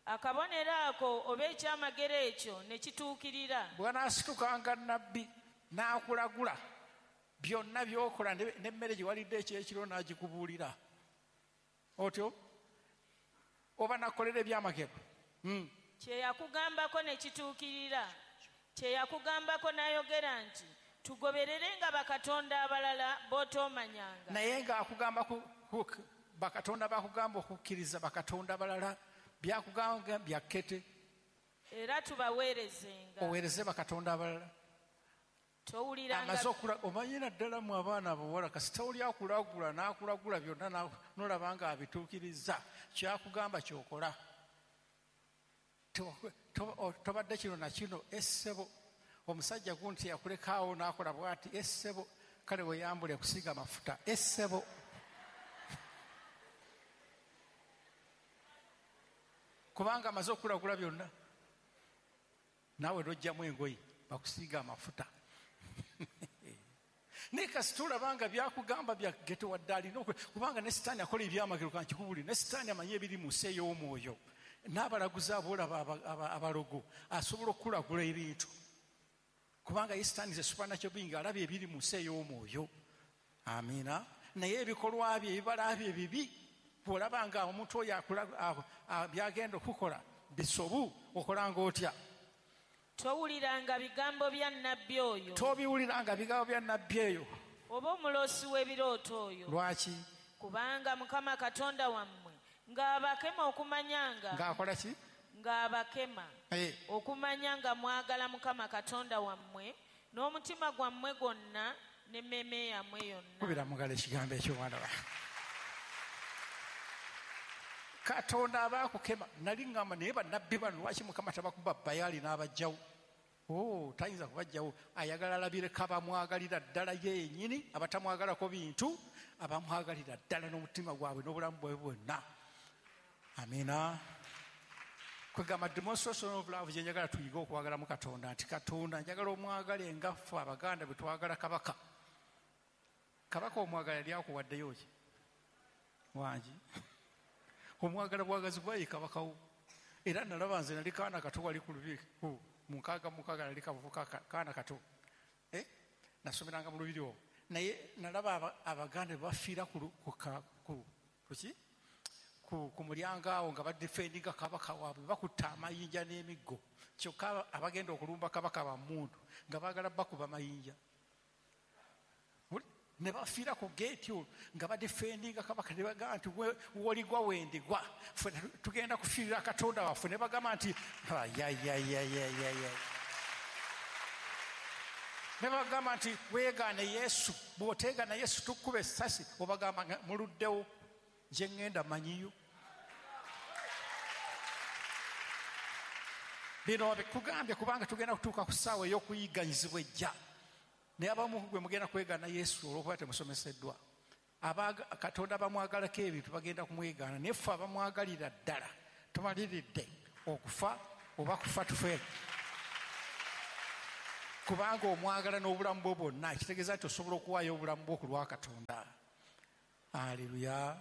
Akabonero ako oba ekyamagero ekyo ne kituukirira. Bw'anaasitukanga nnabbi n'akulagula byonna by'okola n'emmere gye walidde ekyekiro n'agikubuulira. Otyo oba nakolera ebyamagero. Mm. Kye yakugambako ne kituukirira. Kye yakugambako n'ayogera nti tugobererenga bakatonda abalala b'otoomanyanga. Naye ng'akugamba bakatonda bakugamba okukkiriza bakatonda abalala byakugamba byakkete. Era tubaweerezenga. Oweereze bakatonda abalala. Towuliranga. Omanyi naddala mu abaana abawala kasita oli akulagula n'akulagula byonna n'olaba nga abituukiriza kyakugamba ky'okola. Tobadde kino na kino essebo omusajja gunti yakulekaawo n'akola bw'ati essebo kale weeyambule kusiiga mafuta essebo. Kubanga amaze okulagula byonna naawe n'oggyamu engoye bakusiiga amafuta. Naye kasita olaba nga byakugamba byageto wadde alina kubanga ne Sitaani akola ebyamagero kankikubuulire, ne Sitaani amanyi ebiri mu nsi ey'omwoyo n'abalaguzi aboolaba abalogo asobola okukulagula ebintu kubanga ye Sitaani ze supernatural being alaba ebiri mu nsi ey'omwoyo. Amiina. Naye ebikolwa bye ebibala bye bibi bw'olaba nga omuntu oyo byagenda okukola bisobu okolanga otya? Towuliranga bigambo bya nnabbi oyo. Tobiwuliranga bigambo bya nnabbi eyo. Oba omuloosi w'ebirooto oyo. Lwaki? Kubanga Mukama Katonda wammwe ng'abakema okumanyanga. Ng'akola ki? Ng'abakema. Hey. Okumanya nga mwagala Mukama Katonda wammwe n'omutima gwammwe gwonna n'emmeeme yammwe yonna. Kubira mu ngalo ekigambo ekyo mwana wange. Katonda aba akukema. Nali ŋŋamba naye bannabbi bano lwaki Mukama tabakuba Baali n'abajjawo? Oh, tayinza kubajjawo. Ayagala alabireko abamwagalira ddala yennyini, abatamwagalako bintu, abamwagalira ddala n'omutima gwabwe n'obulamu bwabwe bwonna. Amina. Kwegamba demonstration of love gye njagala tuyige okwagala mu Katonda, nti Katonda njagala omwagale nga ffe Abaganda bwe twagala kabaka. Kabaka omwagala yali akuwaddeyo ki? Wangi. Omwagala bwagazi bwayi kabaka wo. Era nalaba nze nali kaana kato wali ku lubiri mu nkaaga mukaaga nali kavubuka kaana kato. Eh? Nasomeranga mu lubiri olwo. Naye nalaba Abaganda bafiira ku ku kuki? Ku ku mulyango awo nga badefendinga kabaka waabwe, bakutta amayinja n'emiggo. Kyokka abagenda okulumba kabaka ba mmundu nga baagala bakuba mayinja. Ne bafiira ku geeti olwo nga badefendinga kabaka, ne bagamba nti woligwa wendigwa, ffe tugenda kufiirira Katonda waffe. Ne bagamba nti ayayayayayaya, ne bagamba nti weegaane Yesu, bw'oteegaana Yesu tukkuba essasi. Obagamba muluddewo, nje ŋŋenda manyiyo. Bino bikugambye kubanga tugenda kutuuka ku ssaawa ey'okuyigganyizibwa ejja. Naye abamu gwe mugenda kwegaana Yesu olw'okuba temusomeseddwa. Katonda bamwagalako ebintu bagenda kumwegaana, naye ffe abamwagalira ddala tumaliridde okufa oba kufa tufe. Kubanga omwagala n'obulamu bwo bwonna, kitegeeza nti osobola okuwaayo obulamu bwo ku lwa Katonda. Aleluya.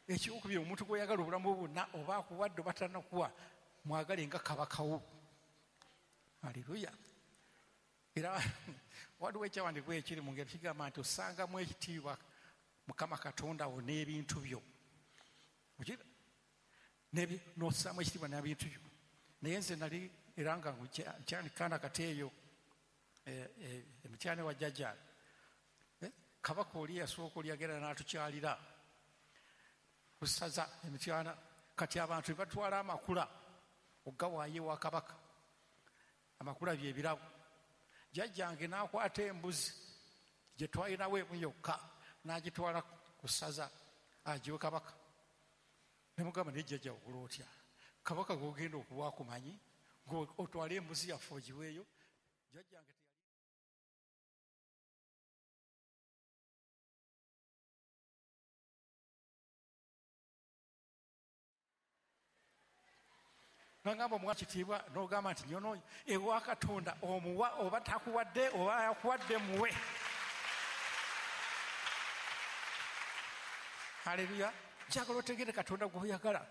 Ekyokubiri, omuntu gw'oyagala obulamu bwo bwonna oba akuwadde oba tannakuwa, mwagale nga kabaka wo. Aleluya. Era waliwo ekyawandiikibwa ekiri mu ngeri kigamba nti osangamu ekitiibwa Mukama Katonda wo n'ebintu byo. N'ossaamu ekitiibwa n'ebintu byo. Naye nze nali era nga nkyali kaana kato eyo emityane wa jjajja, kabaka oli yasooka oli yagenda n'atukyalira ku ssaza emityana. Kati abantu ne batwala amakula okugawaayo ewa kabaka. Amakula bye birabo. Jjajjange n'akwata embuzi gye twalinawo emu yokka n'agitwala ku ssaza agiwe kabaka. Ne mugamba, naye jjajja okola otya? Kabaka gw'ogenda okuwa akumanyi, otwale embuzi yaffe ogiweeyo. Jjajjange nagamba omuwa kitiibwa, n'ogamba nti nyono ewa Katonda omuwa oba takuwadde oba yakuwadde muwe. Haleluya. Njagala otegere Katonda gw'oyagala,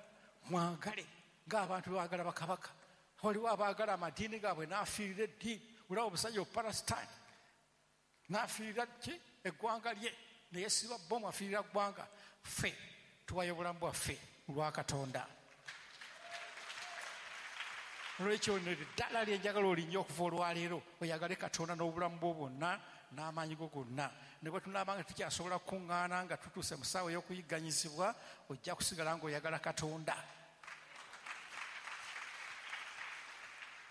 mwagale ng'abantu baagala bakabaka. Waliwo abaagala amadiini gaabwe n'afiirira eddiini. Olaba omusajja Palestine n'afiirira ki eggwanga lye, naye siba bomu afiirira ggwanga. Ffe tuwayo obulamu bwaffe olwa Katonda. Olwekyo ddala lye njagala olinnye okuva olwaleero, oyagale Katonda n'obulamu bwo bwonna n'amaanyi go gonna. Ne bwe tunaaba nga tukyasobola kukuŋŋaana nga tutuuse mu ssaawa ey'okuyigganyizibwa, ojja kusigala ng'oyagala Katonda.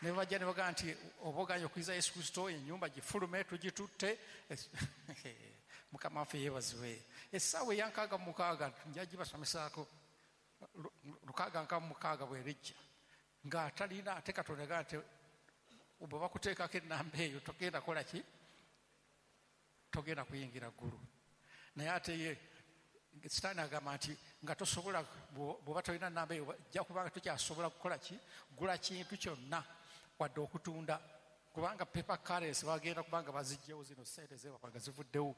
Ne bajja ne bagamba nti oba oganye okuyiza Yesu Kristo, ennyumba gifulume tugitutte. Mukama waffe yeebazibwe. Essaawa eya nkaaga mu mukaaga nja gibasomesaako, lukaaga nkaaga mu mukaaga bw'erijja ng'atalina ate Katonda agamba nti bwe bakuteekako ennamba eyo togenda kukola ki? Togenda kuyingira ggulu. Naye ate ye Sitaani agamba nti nga tosobola, bw'oba tolina nnamba eyo ojja kubanga tokyasobola kukola ki? Gula kintu kyonna wadde okutunda, kubanga paper currency bagenda kubanga baziggyewo zino ssente zeewaka nga zivuddewo.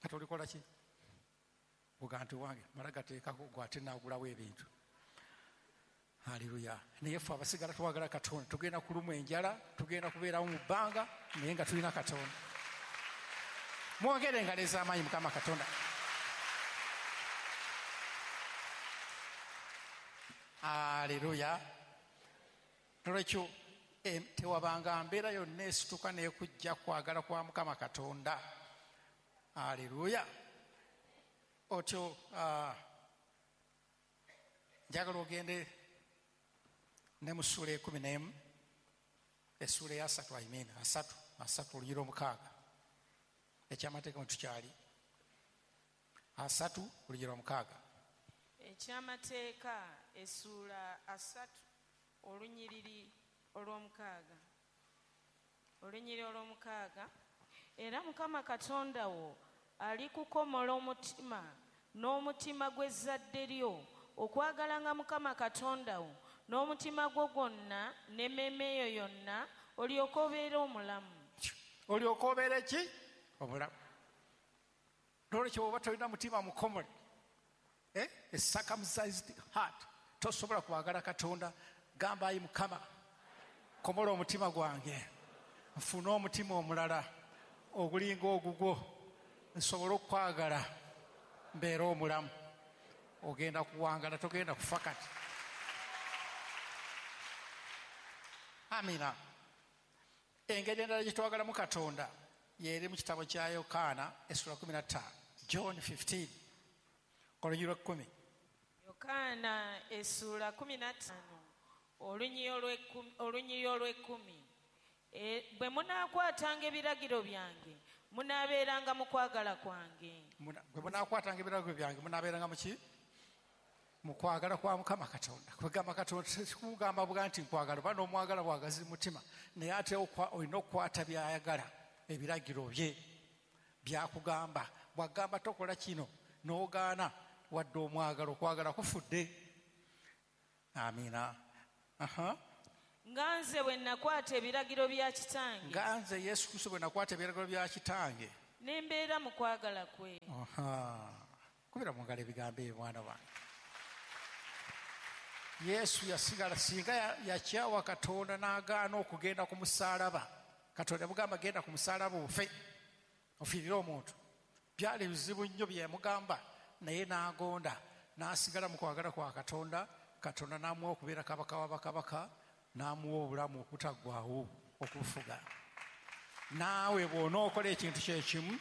Kati olikola ki? Ogamba nti wange mala gateekako gwe ate naagulawo ebintu. Haleluya. Naye ffe abasigala twagala Katonda, tugenda kulumwa enjala, tugenda kubeerawo mu bbanga, naye nga tulina Katonda. Mwongere engalo ez'amaanyi Mukama Katonda. Haleluya. Nolwekyo tewabanga mbeera yonna esituka n'ekujja kwagala kwa Mukama Katonda. Haleluya. Otyo njagala ogende ne mu ssuula ekumi n'emu, essuula eyasatu, I mean asatu, asatu olunyiriri omukaaga. Ekyamateeka mwe tukyali. Asatu olunyiriri omukaaga. Ekyamateeka essuula asatu olunyiriri olw'omukaaga. Olunyiriri olw'omukaaga. Era Mukama Katonda wo alikukomola omutima n'omutima gw'ezzadde lyo okwagalanga Mukama Katonda wo n'omutima gwo gwonna n'emmeeme yo yonna olyoke obeere omulamu. Olyoke obeere ki? Omulamu. N'olwekyo bw'oba tolina mutima mukomole, eh? A circumcised heart, tosobola kwagala Katonda. Gamba ayi Mukama, komola omutima gwange, nfune omutima omulala ogulinga ogugwo, nsobole okukwagala mbeere omulamu. Ogenda kuwangala, togenda kufa kati. Amina. Engeri endala gye twagalamu Katonda yeri mu kitabo kya Yokaana essula kumi na ttaano, John fifteen, olunyiriri lw'ekkumi. Yokaana essula kumi na ttaano olunyiriri olw'ekkumi. Bwe munaakwatanga ebiragiro byange munaabeeranga mu kwagala kwange. Bwe munaakwatanga ebiragiro byange munaabeeranga mu ki? Mu kwagala kwa Mukama Katonda. Kwegamba Katonda sikugamba bwa nti nkwagala oba n'omwagala bwagazi mutima, naye ate olina okukwata by'ayagala, ebiragiro bye byakugamba. Bw'agamba tokola kino n'ogaana, wadde omwagala, okwagala kufudde. Amiina. Aha. Nga nze bwe nakwata ebiragiro bya kitange. Nga nze Yesu Kristo bwe nakwata ebiragiro bya kitange. Ne mbeera mu kwagala kwe. Aha. Kubira mu ngalo ebigambo ebyo mwana wange. Yesu yasigala singa yakyawa Katonda n'agaana okugenda ku musaalaba. Katonda yamugamba genda ku musaalaba ofe, ofiirire omuntu. Byali bizibu nnyo bye yamugamba, naye n'agonda, n'asigala mu kwagala kwa Katonda. Katonda n'amuwa okubeera kabaka wa bakabaka, n'amuwa obulamu okutaggwaawo okufuga. Naawe bw'onookola ekintu kye kimu,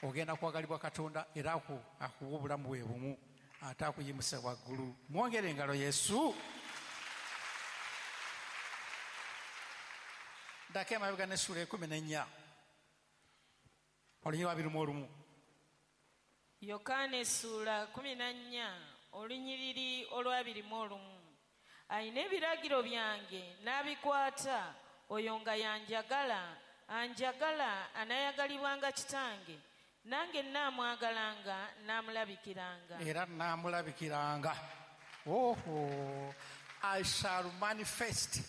ogenda kwagalibwa Katonda era akuwa obulamu bwe bumu, ate akuyimusa waggulu. Mwongere engalo Yesu. Ddako emabega n'essuula ekkumi n'ennya, olunyiriri abiri mu olumu. Yokaana essuula kkumi na nnya olunyiriri olw'abiri mu olumu. Alina ebiragiro byange n'abikwata, oyo nga yanjagala, anjagala anaayagalibwanga kitange, nange nnaamwagalanga n'amulabikiranga. Era nnaamulabikiranga. Oho, I shall manifest.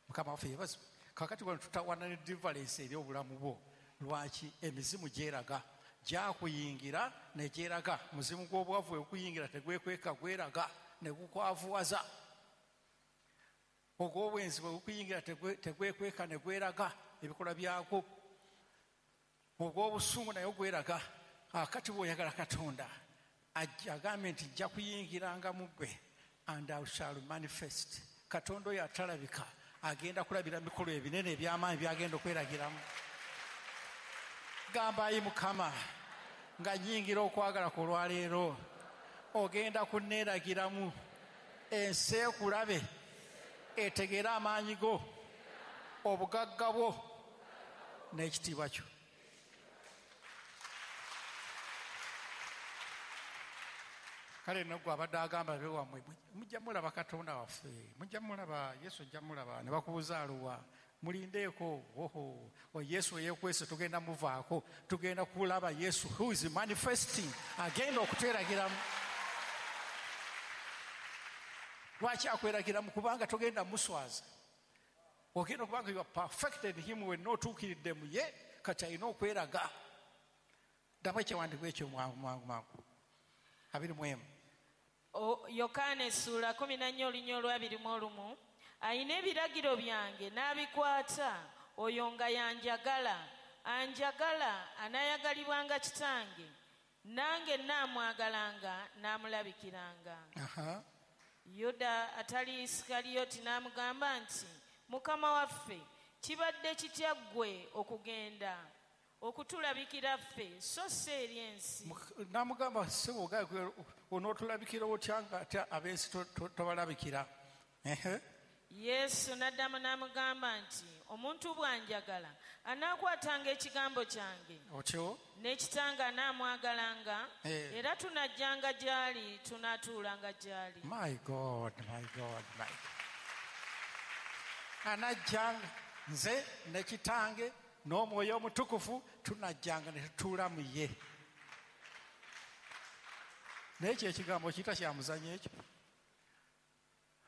Mukama waffe yeebazibwe. Kaakati wano tutawaana ne deliverance eri obulamu bwo. Lwaki emizimu gyeraga, gyakuyingira ne gyeraga. Muzimu gw'obwavu okuyingira tegwekweka, gweraga ne gukwavuwaza. Ogw'obwenzi bwe gukuyingira tegwekweka ne gweraga ebikolwa byakwo. Ogw'obusungu naye gweraga. Akati bw'oyagala Katonda agambye nti nja kuyingiranga mu ggwe, and I shall manifest. Katonda oyo atalabika agenda kulabira mikolo ebinene eby'amaanyi by'agenda okweragiramu. Gamba ayi Mukama, nga nnyingira okwagala kwo olwaleero, ogenda kunneeragiramu, ensi ekulabe, etegeere amaanyi go, obugagga bwo n'ekitiibwa kyo. Kale nno gwe abadde agamba be wammwe, mujja mulaba Katonda waffe, mujja mulaba Yesu, ojja mulaba. Ne bakubuuza aluwa, mulindeeko. Oho, Yesu eyeekwese tugenda muvaako, tugenda kulaba Yesu who is manifesting, agenda okutweragiramu. Lwaki akweragiramu? Kubanga togenda muswaza. Ogenda okubanga you are perfected him, wenna otuukiridde mu ye, kati alina okweraga. Ddamu ekyawandiikibwa ekyo mwangu mwangu mwangu. Abiri mu emu. Yokaana essuula kkumi na nnya olunyiriri olw'abiri mu olumu. Alina ebiragiro byange n'abikwata, oyo nga yanjagala, anjagala anaayagalibwanga kitange, nange nnaamwagalanga n'amulabikiranga. Yuda atali Isikaliyoti n'amugamba nti, Mukama waffe, kibadde kitya ggwe okugenda okutulabikira ffe so si eri ensi? N'amugamba, ssebo onootulabikira otya nga ate ab'ensi tobalabikira? Yesu n'addamu n'amugamba nti, omuntu bw'anjagala anaakwatanga ekigambo kyange, otyo n'ekitange anaamwagalanga, era tunajjanga gy'ali, tunaatuulanga gy'ali. My God, my God, my God. Anajjanga Nze ne kitange n'omwoyo omutukuvu tunajjanga ne tutuula mu ye. Naye ekyo ekigambo kiyita kya muzannyo ekyo.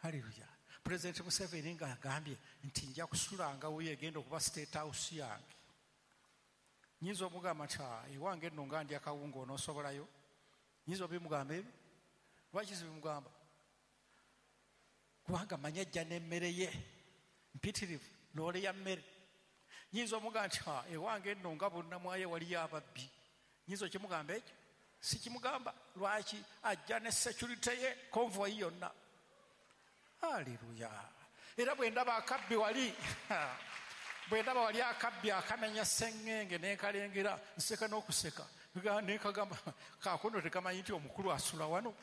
Haleluya. Pulezidenti Museveni ng'agambye nti nja kusulanga wuyo egenda okuba state house yange. Nyinza omugamba nti ewange nno nga ndya kawunga onoosobolayo? Nyinza obimugamba ebyo? Lwaki sibimugamba? Kubanga manyi ajja n'emmere ye mpitirivu, loole ya mmere. Nyinza omugamba nti ewange nno nga bonnamwayo waliyo ababbi. Nyinza okimugamba ekyo? Sikimugamba. Lwaki? Ajja ne security ye, convoy yonna. Haleluya. Era bwe ndaba akabbi wali, bwe ndaba wali akabbi akamenya sseŋŋenge ne nkalengera, nseka n'okuseka. Ne nkagamba, kaakono tekamanyi nti omukulu asula wano.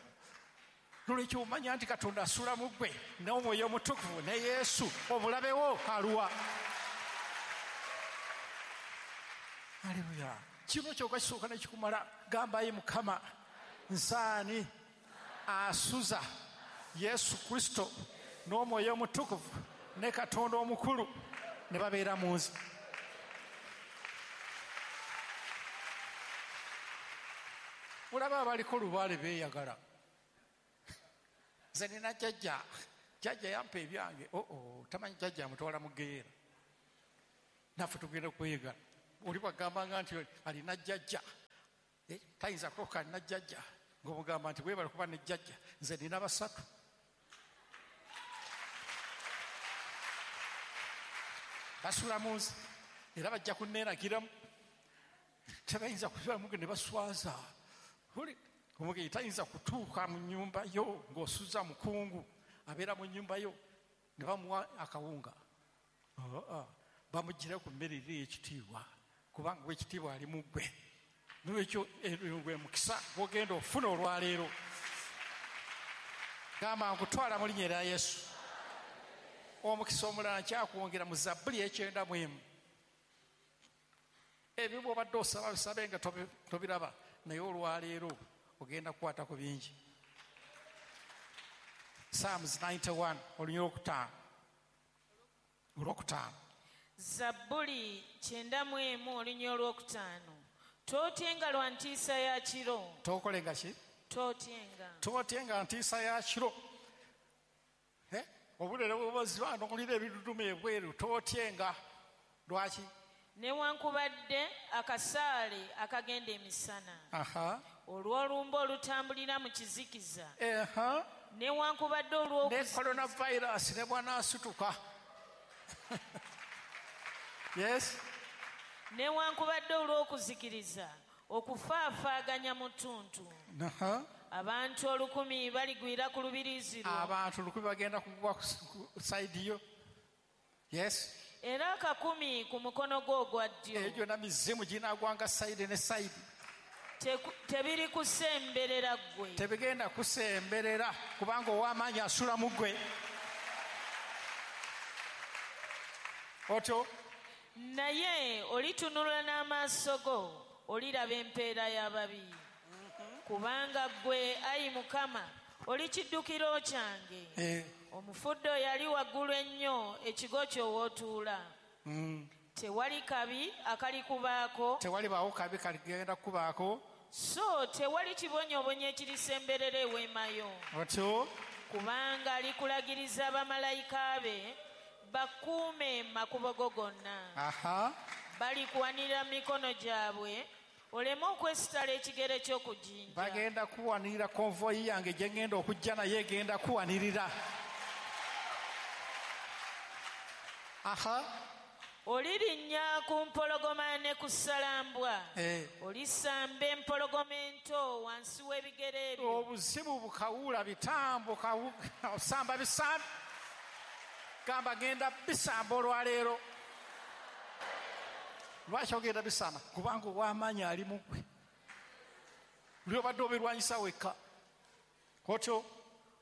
Nolwekyo omanya nti Katonda asula mu ggwe n'Omwoyo Omutukuvu ne Yesu, omulabe wo aluwa. Haleluya. Kino kyokka kisooka ne kikumala. Gamba ye Mukama, nsaani asuza Yesu Kristo n'Omwoyo Omutukuvu ne Katonda omukulu ne babeera mu nze. Olaba abaliko lubaale beeyagala. Nze nina jjajja, jjajja yampa ebyange. Oo, tamanyi jjajja amutwala mu ggeyeera. Naffe tugenda kweyagala. Oli bw'agambanga nti alina jjajja, tayinza kulokoka alina jjajja, ng'omugamba nti weebale kuba ne jjajja, nze nina basatu. Basula mu nze era bajja kunneeragiramu. Tebayinza kusulamu ne baswaza. Omugenyi tayinza kutuuka mu nnyumba yo ng'osuza mukungu abeera mu nnyumba yo ne bamuwa akawunga. Bamugira ku mmere eri ey'ekitiibwa, kubanga ow'ekitiibwa ali mu ggwe. Nolwekyo gwe mukisa gw'ogenda ofuna olwaleero. Gamba nkutwala mu linnya erya Yesu. Omukisa omulala nkyakwongera mu Zabbuli ekyenda mu emu. Ebyo bw'obadde osaba bisabe nga tobiraba, naye olwaleero ogenda kukwata ku bingi. Psalms ninety-one olunyiriri olwokutaano. Olwokutaano. Zabbuli kyenda mu emu olunyiriri olwokutaano. Tootyenga lwa ntiisa ya kiro. Tookolenga ki? Tootyenga. Tootyenga ntiisa ya kiro. Eh? Obulere bw'obuziba n'owulira ebiduduma ebweru, tootyenga. Lwaki? Newankubadde akasaale akagenda emisana. Aha. Olw'olumbe olutambulira mu kizikiza. Aha. Newankubadde olw'oku- Ne coronavirus ne bw'anaasituka. Yes. Newankubadde olw'okuzikiriza okufaafaaganya mu ttuntu. Aha. Abantu olukumi baligwira ku lubiriizi lwo. Abantu olukumi bagenda kugwa ku sayidi yo. Yes. Era akakumi ku mukono gwo ogwa ddyo. Egyo gyonna mizimu ginaagwanga sayidi ne sayidi. Tebiri kusemberera ggwe. Tebigenda kusemberera kubanga ow'amaanyi asula mu ggwe. Otyo. Naye olitunula n'amaaso go, oliraba empeera y'ababi. Kubanga ggwe, ayi Mukama, oli kiddukiro kyange. Eh. Omufudde yali waggulu ennyo ekigo kyo w'otuula. Mm. Tewali kabi akalikubaako. Tewalibaawo kabi kaligenda kukubaako. So tewali kibonyoobonyo ekirisemberera eweema yo. Otyo. Kubanga alikulagiriza bamalayika be bakuume makubo go gonna. Aha. Balikuwanirira mu mikono gyabwe oleme okwesitala ekigere ky'okujinja. Bagenda kuwanirira konvoyi yange gye ngenda okujja naye egenda kuwanirira. Aha. Olirinnya ku mpologoma ne ku ssalambwa. Eh. Olisamba empologoma ento wansi w'ebigere ebyo. Obuzibu bukawula bitambo osamba bisambi. Gamba genda bisamba olwaleero. Lwaki ogenda bisamba? Kubanga ow'amaanyi ali mu ggwe. Luli obadde obirwanyisa wekka. Otyo.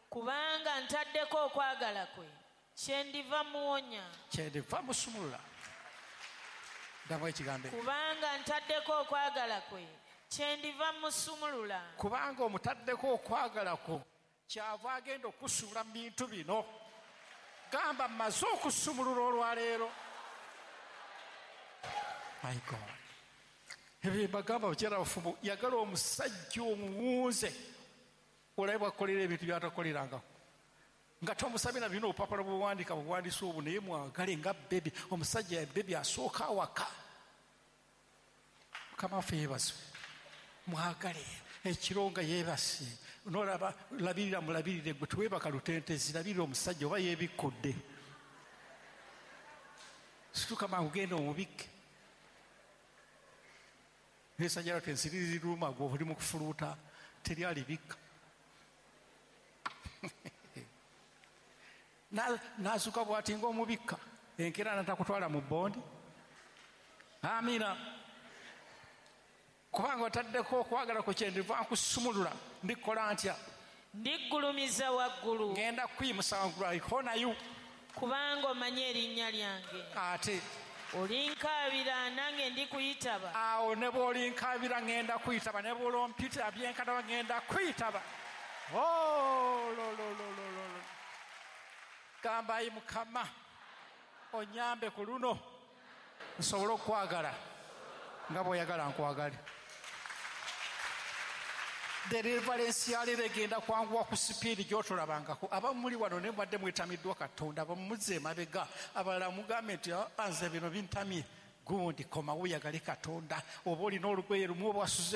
Kubanga ntaddeko okwagala kwe, kyendiva muwonya. Kyendiva musumulula. Ddamu ekigambo ekyo. Kubanga ntaddeko okwagala kwe, kyendiva musumulula. Kubanga omutaddeko okwagala kwo, kyava agenda okusumulula mu bintu bino. Gamba mmaze okusumulula olwaleero. My God, ebyo bagamba bakyala abafumbo, yagala omusajja omuwunze olabe bwakolera ebintu byatakolerangako nga tomusabye na bino obupapula bwewandika buwandiisa obwo, naye mwagale nga bebi. Omusajja bebi asooka awaka. Mukama waffe yeebazibwe. Mwagale ekiro nga yeebase, nolaba labirira, mulabirire gwe teweebaka lutentezi, labirira omusajja oba yeebikkudde, situka mangu genda omubikke. Nesajja lwate ensiri ziruma gwe oli mu kufuluuta, teri alibikka. N'azuka bw'ati ng'omubikka, enkeera n'atakutwala mu bbondi. Amiina. Kubanga otaddeko okwagala ku kyendiva nkusumulula, ndikola ntya? Ndiggulumiza waggulu. Ngenda kuyimusa waggulu, I honor you. Kubanga omanyi erinnya lyange. Ate olinkaabira nange ndikuyitaba. Awo ne bw'olinkaabira ngenda kuyitaba, ne bw'olompita byenkataba ngenda kuyitaba. Oh, lo, lo, lo, lo, lo. Gamba ayi Mukama onyambe ku luno nsobole okwagala nga bw'oyagala nkwagale. Deliverance yaleero egenda kwanguwa ku sipiidi gy'otolabangako. Abamu muli wano naye mubadde mwetamiddwa Katonda, abamu muzze emabega, abalala mugambe nti nze bino bintamye. Gundi komawo oyagale Katonda, oba olina olugoye lumu oba wasuze